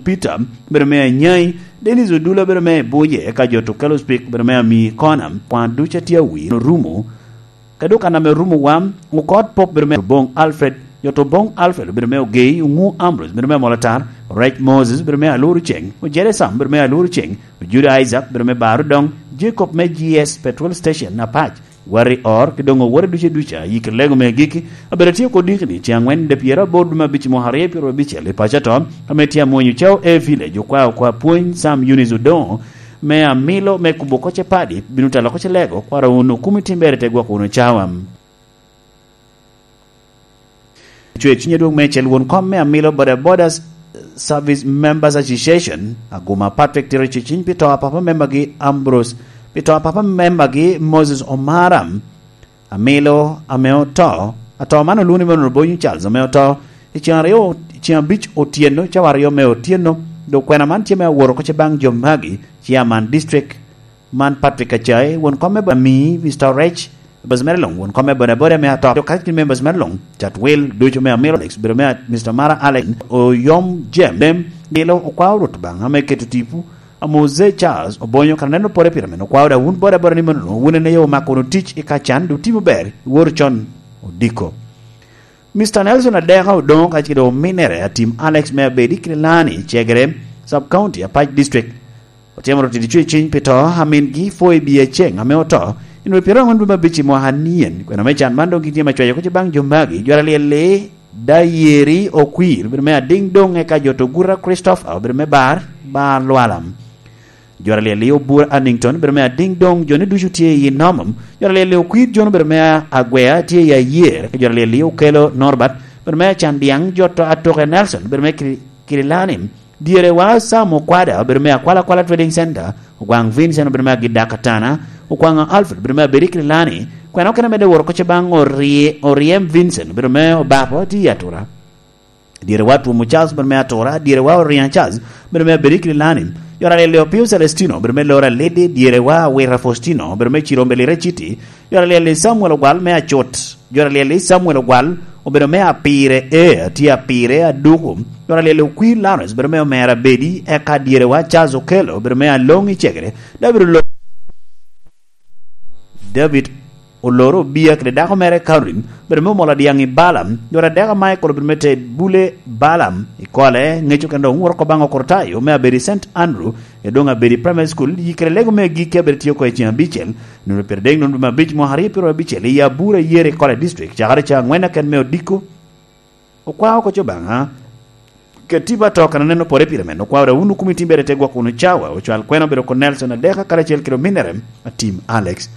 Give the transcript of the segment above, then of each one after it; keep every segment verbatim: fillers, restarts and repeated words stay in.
Peter, bedo me Anyai, Dennis Odula, bedo me Buje, eka jo Tukelo Speak, bedo me Ami Kona, kwan ducu a tye awi, orumo. Ka dok kan ame orumo wam, Okot Pop, bedo me Obong Alfred, jo to Obong Alfred, bedo me Ogei, Ongu Ambrose, bedo me Molatar, Rec Moses, bedo me Aluru Ceng, Ojere Sam, bedo me Aluru Ceng, Ojudo Isaac, bedo me Baru Dong, Jacob me G S Petrol Station, Apac, Wari Or, ki doŋ owore duce duca, yik lego me giki, abedo tye oko diki ni, ceng angwen de pyero aboro dwe me abic mwaka aryo pyero abicel i paco ato, ame tye amwonyo cawo e village, okwa okwa pwony, Sam Eunice Odongo, me amilo, me kubo koce padi, bino talo koce lego, kwara wunu kumi timbere te gwoko wunu cawa. Cwe cwiny adwoŋ meicel won kom me amilo Boda Boda Service Members Association, Aguma Patrick Tiro Ciciny pi to a papa membagi Ambrose, pi to a papa membagi Moses Omara, amilo ame oto, ato man olwoŋo ni Manuel Bonyo Charles ame oto, i ceŋ aryo, i ceŋ abic otyeno, cawa aryo me otyeno, dok kwena man tye me aworo koce baŋ jo magi, Chairman District, man Patrick Acai, won kom me Boda Ami, Mister Rec, members mere luŋ, won kom me Boda Boda me ato, dok kacel ki members mere luŋ, Chatwil, ducu me Amiro Alex, bedo me Mister Mara Alex, Oyom Jem, Dem, Dilo, okwao Rwot Obaŋa me keto tipo, Amoze Charles, Obonyo, kara neno pore pire men, okwao da wun Boda Boda ni mano, wun en aye omako wunu tic i Kacan, dok timo ber, iwor con, odiko. Mister Nelson Adeka Odongo kacel kede ominere Atim Alex me Abedi Kilani, Cegere, Sub County, Apac District. Otyemo rotiti cwe cwiny pi to, amingi Foibi Aceng ame oto, i nwoŋo pyero aŋwen dwe me abic i mwaka anien. Kwena me can man doŋ gitye me cwayo kuc baŋ jo magi, jo alyel-li, Dayeri Okwir, obedo me adiŋ doŋ, eka jo to Gura Christopher, obedo me Bar, Bar Lwalam. Jo alyel-li Obura Annington, obedo me adiŋ doŋ, jo ni ducu tye i Nomom. Jo alyel-li Okwir John, obedo me Agwea, tye i Ayer. Jo alyel-li Okelo Norbert, obedo me Acandiaŋ, jo to Atoke Nelson, obedo me Kiri-, Kirilani. Dyerewa Sam Okwada, obedo me Akwala Akwala Trading Center. Ogwaŋ Vincent, obedo me Agidaka Tana. Okwaŋ Alfred, obedo me Abedi Kirilani. Kwena okene medde woro koce baŋ Orie-, Oriem Vincent, obedo me Obapo, tye i Atura. Dyerewa Twom Charles, bedo me Atura, dyerewa Orian Charles, bedo me Abedi Kililani, jo aryel Opio Celestino, bedo me Lora Lidi, dyerewa Awira Faustino, bedo me Cirombe Lira City, jo aryel Samuel Ogwal me Acut, jo aryel Samuel Ogwal, obedo me Apire, e, tye Apire, Aduku, jo aryel Okwir Lawrence, bedo me Omera Bedi, eka dyerewa Charles Okello, bedo me Along i Cegere, David Oloo. David oloro Obia kede dako mere Catherine, bedo me omolo adyaŋ i Balaam, jo adek a Michael obedo me te bule Balaam i kole, ŋeco kendo oŋuro oko baŋ Okrutayo me Abedi Saint Andrew, e doŋ Abedi Primary School, yikere lego me gikki abedo tye oko i ceŋ abicel, nino pire dek nino me abic mwaka aryo pyero abicel i Abura Yere College District, cakere ca aŋwen aken me odiko. Okwao oko Obaŋa, keti ba to kan aneno pore pire men, okwao da wunu kumi timbere te gwoko wunu cawa, ocwal kwena obedo ko Nelson Adeka karacel kede ominere, Atim Alex.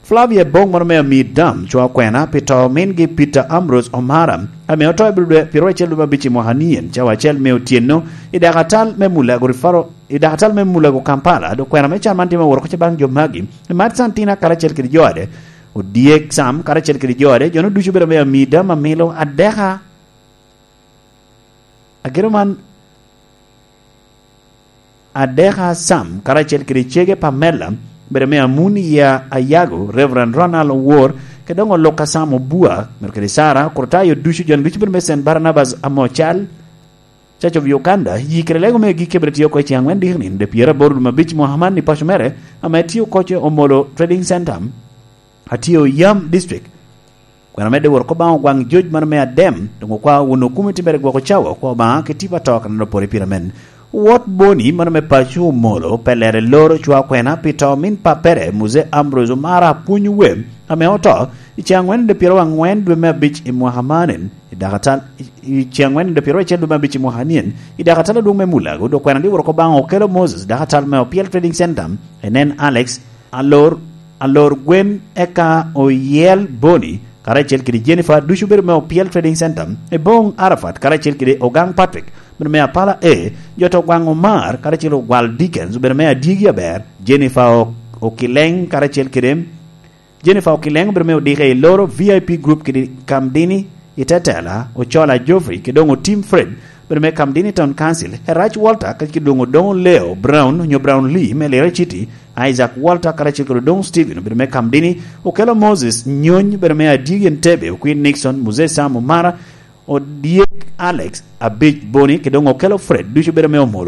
Flavia Bong moro me Amir Dam, cwa kwena, pi to mingi Peter Ambrose Omara, ame oto i dwe, pyero acel dwe me abic i mwaka nien, cawa acel me otyeno, i dakatal me Mulago Referral, i dakatal me Mulago Kampala, dok kwena me can man tye me woro koce baŋ jo magi, i Mat Santina karacel kede jo ade, Odyek Sam karacel kede jo ade, jo-nu ducu obedo me Amir Dam Amilo Adeka. Agiro man, Adeka Sam, karacel kede cege Pamela, bedo me Amuni ya Ayago, Reverend Ronald Owor, kede doŋ Oluka Sam Obua, myero kede Sara, Kurtayo ducu, jo ducu bedo me Saint Barnabas Amocal, Church of Uganda, yikere lego me gik kebere tye oko i ceŋ aŋwen diki nino, de pyero aboro dwe me abic mwaka man i paco mere, ame tye oko ce Omolo Trading Center, atye Oyam District. Kwena medde woro ko baŋ ogwaŋ joc mano me adem, doŋ okwa wun okumi timmere gwoko cawa, okwa Obaŋa ki tipo ato kan an opore pire men. Wot Boni mano me paco Omolo, pe lere loro cwa kwena pi to min pappere, Muse Ambrose Omara Apwony Wem, ame oto, i ceŋ aŋwen de pyero aŋwen dwe me abic i mwaka manen, i dakatal, i, i ceŋ aŋwen de pyero acel dwe me abic i mwaka nien, i dakatal adwoŋ me Mulago, dok kwena di woro ko baŋ Okelo Moses, dakatal me Opiel Trading Center, enen Alex, Alor, Alor Gwen, eka Oyel Boni, karacel kede Jennifer, ducu bedo me Opiel Trading Center, Ebong Arafat, karacel kede Ogang Patrick, bedo me Apala A, jo to Ogwaŋ Omar, karacel Ogwal Dickens, bedo me Adyegi Aber, Jennifer O-, Okileng, karacel kede Jennifer Okileng, bedo me Odike i Loro V I P Group kede Kamdini, i Tetela, Ocola Geoffrey, kede doŋ Otim Fred, bedo me Kamdini Town Council, Herach Walter, kacel kede doŋ Odoŋo Leo Brown, onyo Brown Lee, me Lira City, Isaac Walter, karacel kede Odoŋo Stephen, bedo me Kamdini, Okelo Moses Nyony, bedo me Adyegi Entebbe, Okwin Nixon, Muzee Sam Omara, Odyek Alex, Abic Boni, kede doŋ Okelo Fred, ducu bedo me Omolo,